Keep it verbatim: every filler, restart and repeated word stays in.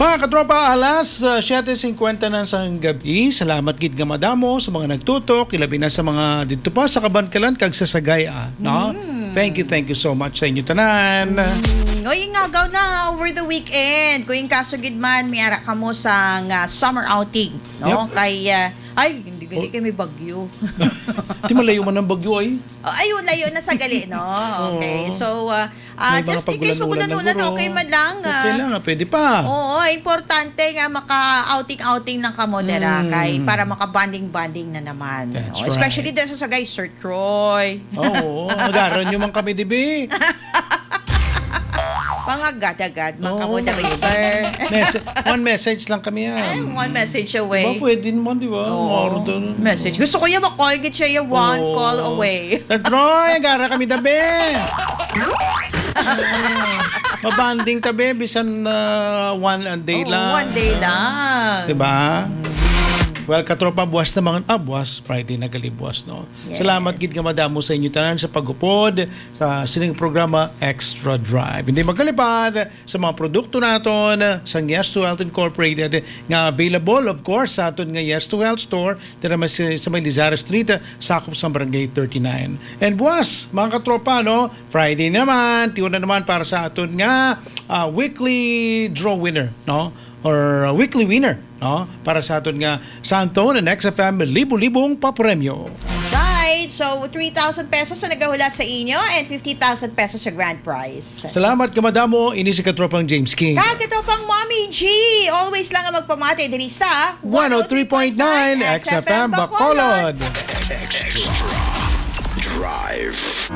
Mga katropa, alas uh, siyete singkwenta na sang gabi. Salamat gid nga madamo sa mga nagtutok, ilabi na sa mga didto pa sa Kabankalan kag sa Sagay, ah, no? Thank you, thank you so much sa inyo tanan. Noy, ngagaw na over the weekend. Kung yung kaso gid man, may ara kamo sa nga summer outing, no? Yep. Kay, ah, ay, hindi gali kay may bagyo. Di malayo man ang bagyo ay. Oh, ayun, layo na sa gali, no? Okay. So, ah, ah, May mga just in case pagulan-ulan magulan-ulan, na guro. Okay man lang. Okay ah, lang, ah, pwede pa. Oo, importante nga maka-outing-outing ng kamo dira Mm. kay para maka-bonding-bonding na naman. That's Oh, especially right. Dito sa Sagay, Sir Troy. Oo, nagaran nyo man kami, dibi? Pangagad-agad, man Oo. kamo diri, sir. Message, one message lang kami yan. Ay, one message Diba, away. Pwede naman, di ba? Oo. Maro doon. Message. Gusto ko yung ma-call gid siya yung one Oo. call away. Sir Troy, agara kami tabi. Mabanding tabi, bisan uh, one a day Oo, lang. One day lang. Diba? Well, katropa, buwas na mga, ah, buwas, Friday na gali buwas, no? Yes. Salamat gid nga madamo sa inyo tanan sa pagupod sa sining programa Extra Drive. Hindi magkalipad sa mga produkto naton sa Yes to Health Incorporated nga available, of course, sa aton nga Yes to Health Store dira mas sa may Lizara Street, sakop sa Barangay thirty-nine. And buwas, mga katropa, no, Friday naman, tiyo na naman para sa aton nga ah, weekly draw winner, no? Or uh, weekly winner, no? Para sa aton nga Santo na Next F M libo-libong papremyo. Right. So, three thousand pesos ang nagahulat sa inyo and fifty thousand pesos sa grand prize. Salamat ka madamo, ini si katropang James King. Kag ito pang Mommy G, always lang ang magpamati diri sa One oh three point nine X F M Bacolod. Extra Drive.